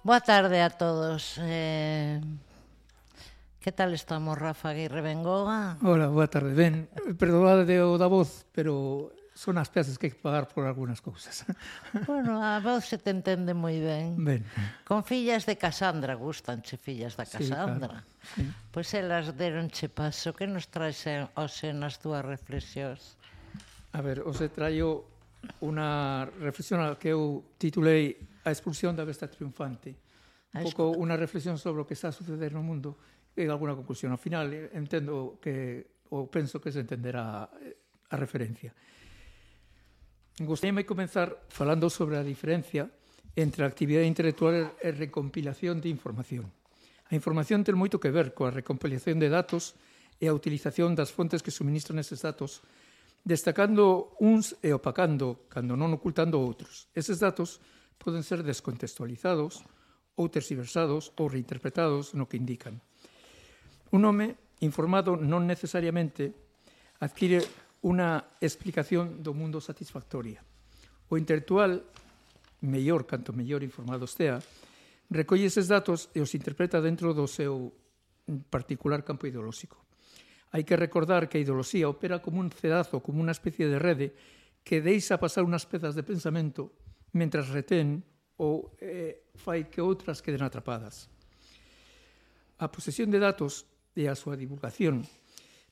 Boa tarde a todos. Que tal estamos, Rafa Aguirre Bengoa? Hola, boa tarde. Ben, perdoade o da voz, pero son as peças que hai que pagar por algunhas cousas. Bueno, a voz se te entende moi ben. Ben, Con fillas de Casandra, gustanche fillas da sí, claro. Casandra. Sí. Pois elas deronche paso. Que nos traes hoxe nas túas reflexións? A ver, os traio unha reflexión a que eu titulei A expulsión da besta triunfante. Un pouco unha reflexión sobre o que está a suceder no mundo e alguna conclusión. Ao final, entendo que, ou penso que se entenderá a referencia. Gostaríame comenzar falando sobre a diferencia entre a actividade intelectual e recompilación de información. A información ten moito que ver coa recompilación de datos e a utilización das fontes que suministran eses datos, destacando uns e opacando, cando non ocultando outros. Eses datos poden ser descontextualizados ou tergiversados ou reinterpretados no que indican. Un home informado non necesariamente adquire unha explicación do mundo satisfactoria. O intelectual, mellor canto mellor informado estea, recolle eses datos e os interpreta dentro do seu particular campo ideolóxico. Hai que recordar que a ideoloxía opera como un cedazo, como unha especie de rede que deixa pasar unhas pezas de pensamento mentras retén ou fai que outras queden atrapadas. A posesión de datos e a súa divulgación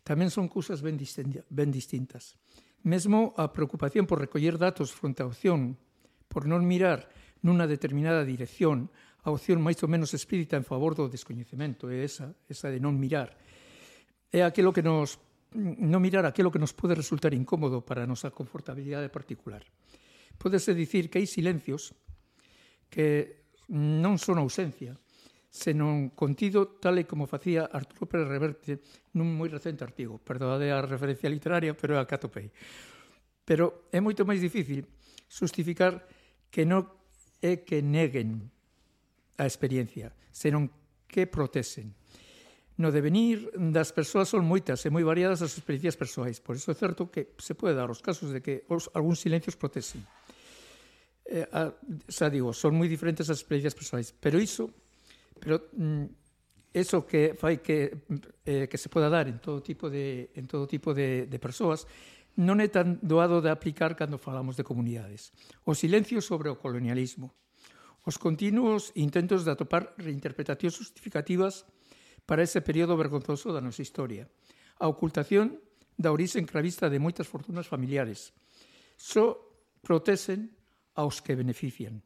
tamén son cousas ben distintas. Mesmo a preocupación por recoller datos fronte á opción, por non mirar nunha determinada dirección, a opción máis ou menos explícita en favor do descoñecemento, é esa de non mirar. É aquilo que non mirar aquilo que nos pode resultar incómodo para a nosa confortabilidade particular. Pódese dicir que hai silencios que non son ausencia, senón contido tal e como facía Arturo Pérez Reverte nun moi recente artigo. Perdóade a referencia literaria, pero é a que atopei. Pero é moito máis difícil justificar que non é que neguen a experiencia, senón que protesen. No devenir das persoas son moitas e moi variadas as experiencias persoais. Por iso é certo que se pode dar os casos de que algúns silencios protesen. Xa digo, son moi diferentes as experiencias persoais, pero iso que fai que se poda dar en todo tipo de persoas non é tan doado de aplicar cando falamos de comunidades. O silencio sobre o colonialismo, os continuos intentos de atopar reinterpretacións justificativas para ese período vergonzoso da nosa historia, a ocultación da orixe encravista de moitas fortunas familiares, só protesen aos que benefician,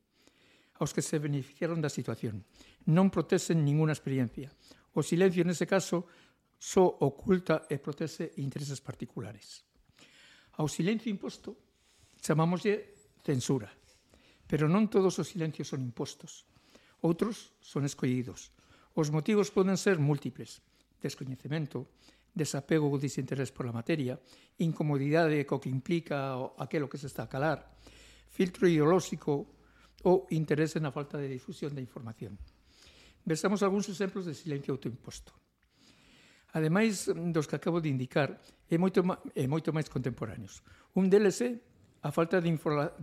aos que se beneficiaron da situación. Non protesen ninguna experiencia. O silencio, nese caso, só oculta e protese intereses particulares. Ao silencio imposto chamámoslle censura, pero non todos os silencios son impostos. Outros son escollidos. Os motivos poden ser múltiples: descoñecemento, desapego ou desinterés pola materia, incomodidade co que implica aquilo que se está a calar, filtro ideolóxico ou interese na falta de difusión da información. Vexamos algúns exemplos de silencio autoimposto. Ademais dos que acabo de indicar, é moito máis contemporáneos. Un deles é a falta de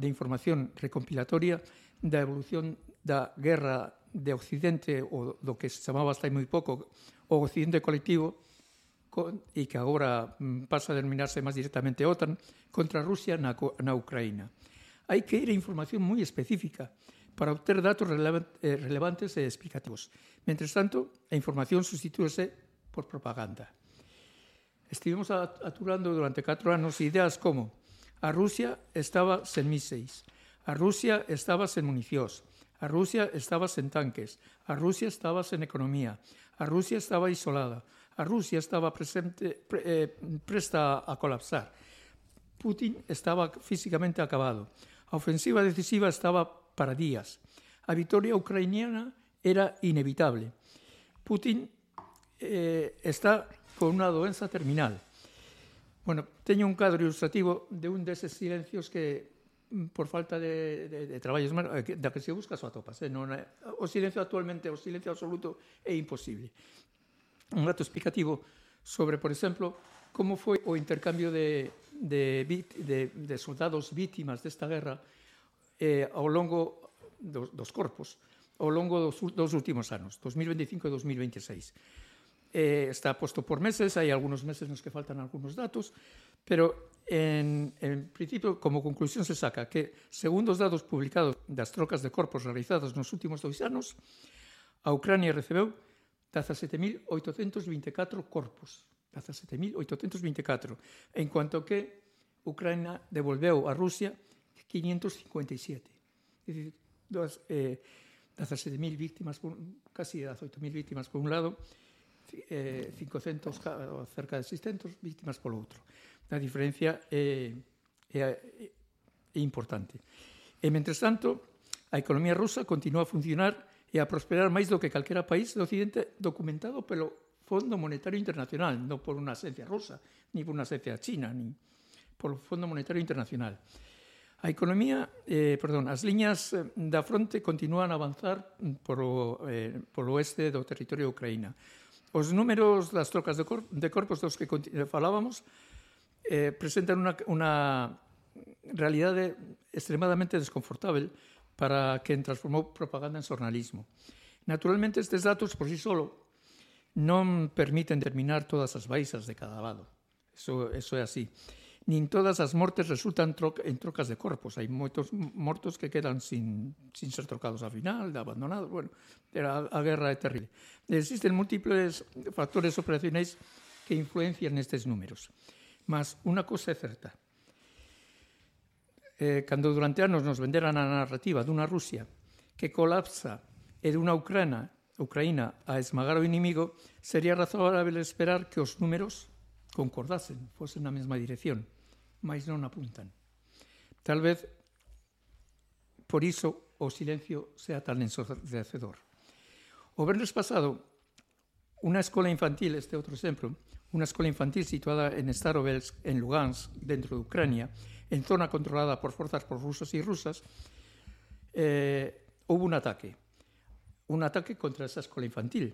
información recompilatoria da evolución da guerra de Occidente, ou do que se chamaba hasta hai moi pouco o Occidente colectivo, e que agora pasa a denominarse máis directamente OTAN, contra Rusia na Ucraína. Hai que ir a información moi específica para obter datos relevantes e explicativos. Mentres tanto, a información substitúese por propaganda. Estivemos aturando durante 4 anos ideas como a Rusia estaba sen míseis, a Rusia estaba sen municións, a Rusia estaba sen tanques, a Rusia estaba sen economía, a Rusia estaba isolada, a Rusia estaba presta a colapsar, Putin estaba físicamente acabado, a ofensiva decisiva estaba para días, a vitoria ucraniana era inevitable, Putin está con unha doenza terminal. Bueno, teño un cadro ilustrativo de un deses silencios que, por falta de traballos, da que se busca só atopas. O silencio actualmente, o silencio absoluto é imposible. Un dato explicativo sobre, por exemplo, como foi o intercambio de soldados vítimas desta guerra ao longo dos corpos. ao longo dos últimos anos, 2025 e 2026. Está posto por meses, hai algúns meses nos que faltan algúns datos, pero en principio, como conclusión se saca que, segundo os datos publicados das trocas de corpos realizadas nos últimos 2 anos, a Ucrania recebeu 17.824 corpos, 17.824, en cuanto que Ucrania devolveu a Rusia 557. É dicir, 17.000 víctimas, casi 18.000 víctimas por un lado, 500, cerca de 600 víctimas polo outro. A diferencia é importante. E, mentres tanto, a economía rusa continúa a funcionar e a prosperar máis do que calquera país do Occidente documentado pelo Fondo Monetario Internacional, non por unha agencia rusa, ni por unha agencia china, ni polo Fondo Monetario Internacional. A economía, as liñas da fronte continúan a avanzar polo oeste do territorio de Ucraína. Os números das trocas de corpos dos que falábamos presentan unha realidade extremadamente desconfortável para quen transformou propaganda en xornalismo. Naturalmente, estes datos por sí solo non permiten determinar todas as baixas de cada lado. Eso é así. Nin todas as mortes resultan en trocas de corpos. Hai moitos mortos que quedan sin ser trocados ao final, abandonados. Bueno, a guerra é terrible. Existen múltiples factores operacionais que influencian nestes números. Mas unha cosa é certa. Cando durante anos nos venderan a narrativa dunha Rusia que colapsa e dunha Ucraína a esmagar o inimigo, sería razoável esperar que os números concordasen, fosen na mesma dirección, mas non apuntan. Tal vez por iso o silencio sea tan ensordecedor. O venres pasado, unha escola infantil, este outro exemplo, unha escola infantil situada en Starovsk, en Lugansk, dentro de Ucrania, en zona controlada por forzas prorrusas e rusas, houve un ataque contra esa escola infantil.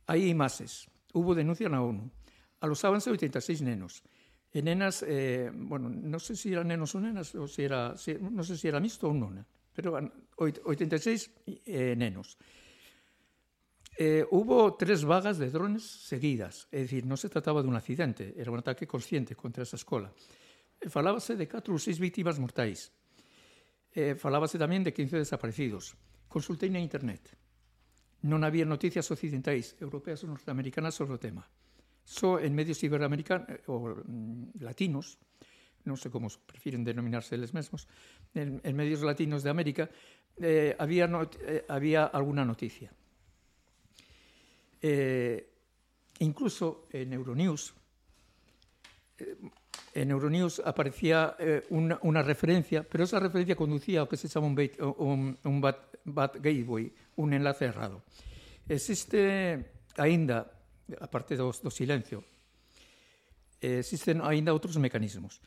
Hai imaxes, houve denuncia na ONU, alosábanse 86 nenos, e nenas, non sei se eran nenos ou nenas, non sei se era mixto ou non, pero 86 nenos. Hubo 3 vagas de drones seguidas, é dicir, non se trataba dun accidente, era un ataque consciente contra esa escola. Falábase de 4 ou 6 víctimas mortais. Falábase tamén de 15 desaparecidos. Consultei na internet. Non había noticias occidentais, europeas ou norteamericanas sobre o tema. Só en medios iberoamericanos ou latinos, non sei como prefiren denominarse eles mesmos, en medios latinos de América, había alguna noticia. Incluso en Euronews aparecía unha referencia, pero esa referencia conducía ao que se chama un bad gateway, un enlace errado. Existe aínda, aparte do silencio, existen aínda outros mecanismos.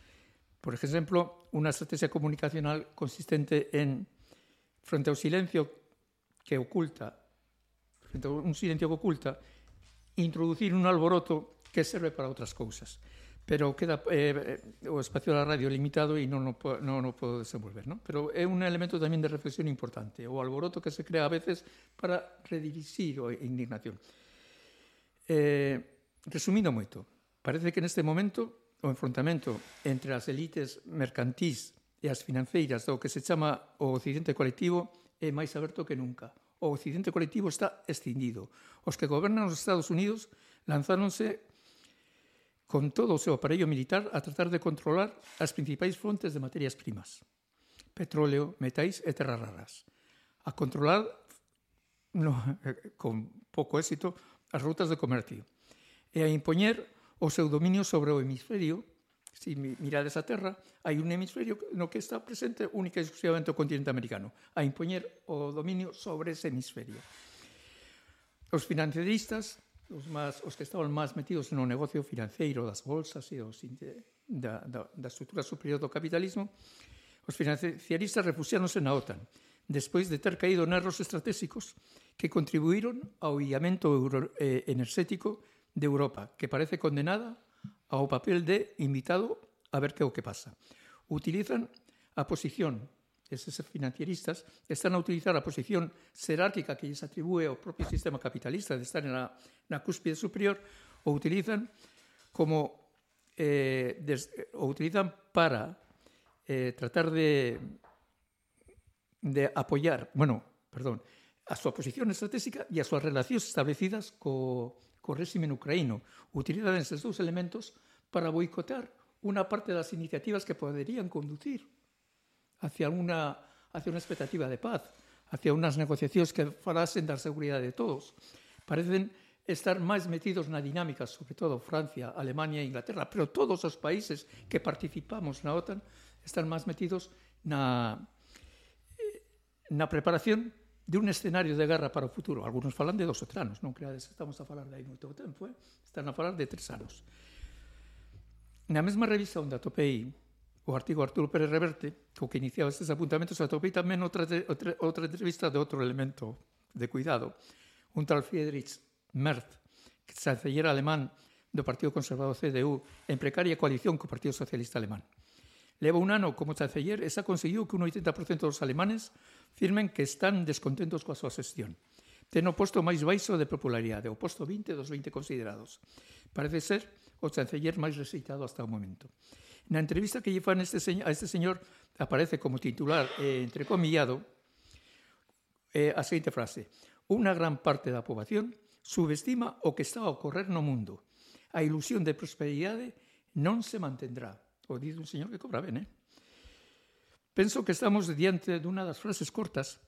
Por exemplo, unha estrategia comunicacional consistente en, frente ao silencio que oculta, introducir un alboroto que serve para outras cousas. Pero queda o espacio da radio limitado e non o podo desenvolver, non? Pero é un elemento tamén de reflexión importante, o alboroto que se crea a veces para redirixir a indignación. Resumindo moito, parece que neste momento o enfrontamento entre as elites mercantís e as financeiras do que se chama o Occidente colectivo é máis aberto que nunca. O Occidente colectivo está escindido. Os que gobernan os Estados Unidos lanzáronse con todo o seu aparello militar a tratar de controlar as principais fontes de materias primas, petróleo, metais e terras raras, a controlar con pouco éxito as rutas de comercio e a impoñer o seu dominio sobre o hemisferio. Se mirades a Terra, hai un hemisferio no que está presente única e exclusivamente o continente americano, a impoñer o dominio sobre ese hemisferio. Os financieristas, os que estaban máis metidos no negocio financeiro das bolsas e da estrutura superior do capitalismo, os financieristas refuxiáronse na OTAN, despois de ter caído en erros estratégicos que contribuíron ao illamento enerxético de Europa, que parece condenada ao papel de invitado a ver que é o que pasa. Utilizan a posición eses financieristas, están a utilizar a posición xerárquica que lles atribúe ao propio sistema capitalista de estar na cúspide superior, o utilizan para tratar de apoiar, a súa posición estratégica e as súas relacións establecidas co réximen ucraíno. Utilizan eses dous elementos para boicotar unha parte das iniciativas que poderían conducir hacia unha expectativa de paz, hacia unhas negociacións que falasen da seguridade de todos. Parecen estar máis metidos na dinámica, sobre todo Francia, Alemania e Inglaterra, pero todos os países que participamos na OTAN están máis metidos na preparación de un escenario de guerra para o futuro. Algunos falan de 2 ou 3 anos, non creades que estamos a falar de aí moito tempo, están a falar de 3 anos. Na mesma revista onde atopei o artigo Arturo Pérez Reverte, co que iniciaba estes apuntamentos, atopei tamén outra entrevista de outro elemento de cuidado, un tal Friedrich Merz, chanceller alemán do Partido Conservador CDU, en precaria coalición co Partido Socialista Alemán. Leva un ano como chanceller e xa conseguiu que un 80% dos alemanes firmen que están descontentos coa súa xestión. Ten o posto máis baixo de popularidade, o posto 20 dos 20 considerados. Parece ser o chanceller máis rexeitado hasta o momento. Na entrevista que lle fan a este señor aparece como titular entrecomillado a seguinte frase: unha gran parte da poboación subestima o que está a ocorrer no mundo. A ilusión de prosperidade non se mantendrá. O dice un señor que cobra ben, Penso que estamos diante dunha das frases cortas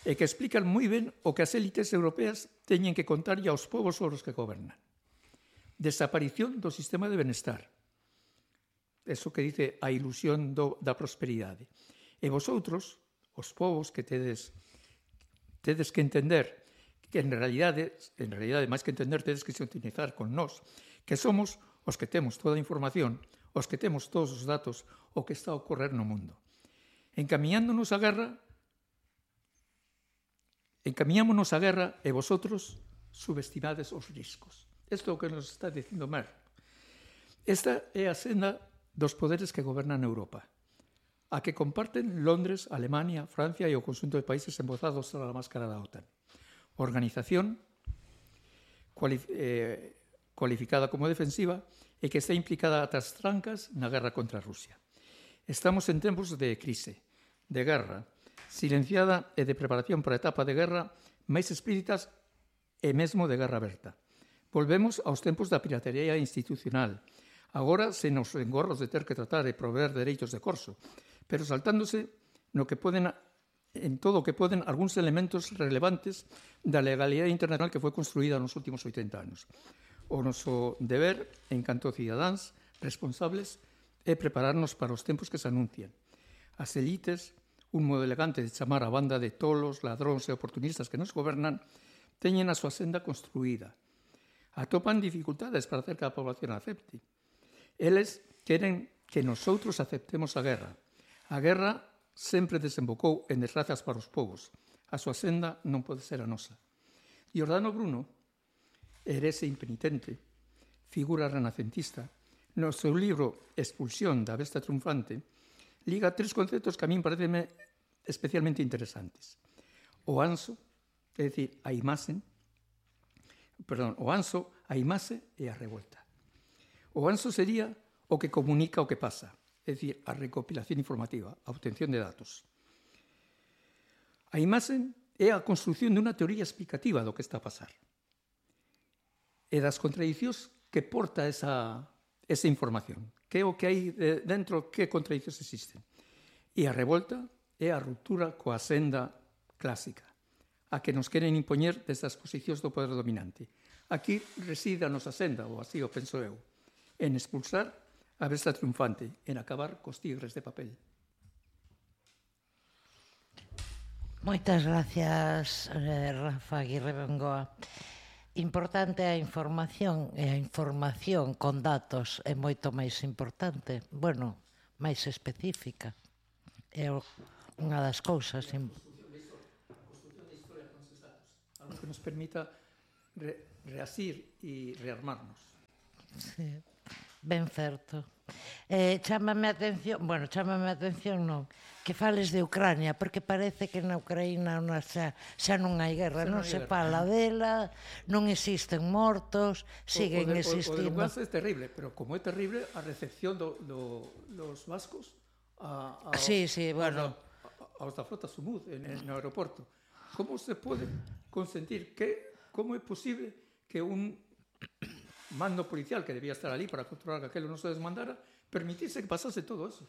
e que explican moi ben o que as élites europeas teñen que contarlle aos povos sobre os que gobernan. Desaparición do sistema de benestar. Eso que dice a ilusión da prosperidade. E vosotros, os povos, que tedes que entender que en realidade, máis que entender, tedes que sintonizar con nós, que somos os que temos toda a información, os que temos todos os datos, o que está a ocorrer no mundo. Encamiñámonos a guerra e vosotros subestimades os riscos. Isto é o que nos está dicindo Merz. Esta é a senda dos poderes que gobernan Europa, a que comparten Londres, Alemania, Francia e o conxunto de países embozados a la máscara da OTAN. Organización cualificada como defensiva e que está implicada ata as trancas na guerra contra Rusia. Estamos en tempos de crise, de guerra, silenciada e de preparación para a etapa de guerra máis explícitas e mesmo de guerra aberta. Volvemos aos tempos da piratería institucional, agora sen os engorros de ter que tratar e proveer dereitos de corso, pero saltándose en todo o que poden algúns elementos relevantes da legalidade internacional que foi construída nos últimos 80 anos. O noso deber, en canto cidadáns responsables, é prepararnos para os tempos que se anuncian. As elites, un modo elegante de chamar a banda de tolos, ladróns e oportunistas que nos gobernan, teñen a súa senda construída. Atopan dificultades para hacer que a población acepte. Eles queren que nosotros aceptemos a guerra. A guerra sempre desembocou en desgrazas para os povos. A súa senda non pode ser a nosa. Giordano Bruno, herese impenitente, figura renacentista, no seu libro Expulsión da besta triunfante, liga 3 conceptos que a min parecen especialmente interesantes. O anso, é dicir, a imaxe e a revolta. O anso sería o que comunica o que pasa, é dicir, a recopilación informativa, a obtención de datos. A imaxe é a construción dunha teoría explicativa do que está a pasar e das contradicións que porta esa información. Que é o que hai dentro, que contradicións existen. E a revolta é a ruptura coa senda clásica, a que nos queren impoñer desde as posicións do poder dominante. Aquí reside a nosa senda, ou así o penso eu, en expulsar a besta triunfante, en acabar cos tigres de papel. Moitas gracias, Rafa Aguirre Bengoa. Importante a información, e a información con datos é moito máis importante, bueno, máis específica. É unha das cousas. A construción da historia con esos datos, algo que nos permita reasir e rearmarnos. Sí, ben certo. Chámame a atención, bueno, chámame a atención non, que fales de Ucrania, porque parece que na Ucraína xa non hai guerra, non se fala dela, non existen mortos, siguen existindo. O de Lugansk é terrible, pero como é terrible a recepción dos vascos Sí, bueno, aos da flota Sumud no aeroporto. Como se pode consentir como é posible que un mando policial que debía estar ali para controlar que aquelo non se desmandara permitise que pasase todo eso?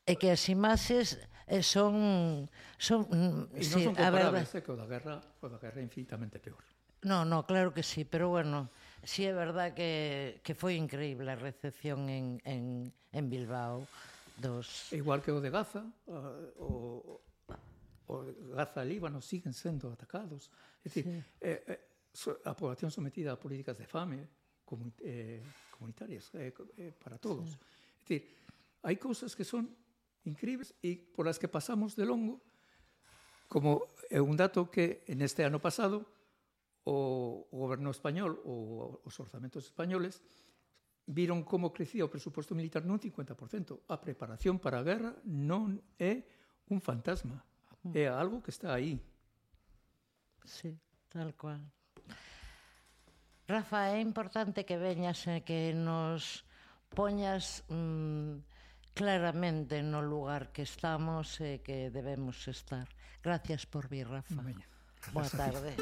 É que as imaxes son e non son comparables, que o da guerra é infinitamente peor. No, claro que sí, pero bueno, sí é verdad que foi increíble a recepción en Bilbao dos... Igual que o de Gaza, o Gaza e Líbano siguen sendo atacados. É dicir, a población sometida a políticas de fame comunitarias para todos. É dicir, hai cousas que son incríveis e por as que pasamos de longo, como é un dato que neste ano pasado o goberno español ou os orzamentos españoles viron como crecía o presuposto militar nun 50%. A preparación para a guerra non é un fantasma, é algo que está aí. Sí, tal cual. Rafa, é importante que veñas e que nos poñas claramente no lugar que estamos e que debemos estar. Gracias por vir, Rafa. Boa tarde.